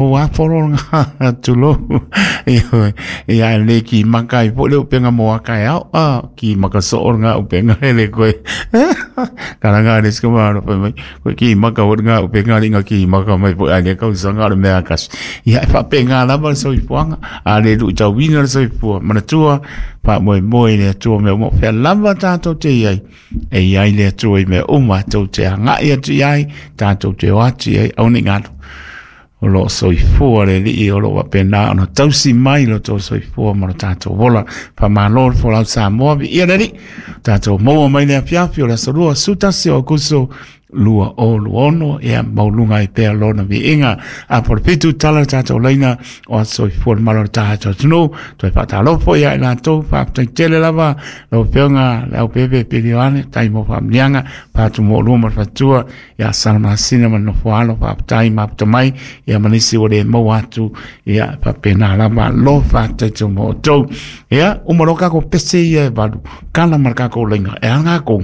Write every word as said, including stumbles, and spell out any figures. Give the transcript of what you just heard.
Ua polo nga tulou. Ia le ki maka i po le upenga mo aka e au a ki maka so nga upenga ele koe. Karanga le sko ma ro mai koe ki maka o nga upenga li nga ki maka mai po ale kau sanga le mea kas. Ia e fapenga lava le soifuaga a le luitauina le soifua manatua faamoemoe i le Atua mea uma o fea lava tatou te iai e iai le Atua i mea uma tou te agai atu iai tatou te o atu iai aua nei galo o loo soifua le Alii o loo faapena ona tausi mai lo tou soifua ma lo tatou ola. Faamalo le folau Samoa, viia le Alii, tatou maua mai le afiafi o le aso lua sefulutasi o Aokuso lua o lua ono, ia mauluga ai pea lona viiga. A po le fitu tala le tatou laina o aso soifua le malo o le tatou atunuu. Toe faatalofo ia i latou, faafetai tele lava lau Afioga le Aupepe Pilioane, tai mo faamiliaga patu mo lua ma le fatua ia Salamasina ma le nofo alo, faafetai mafuta mai ia ma nisi ua le maua atu, ia faapena lava lo faafetai mo outou. Ia uma loa kako pese ia e valu kala ma le kako laina e aga kou.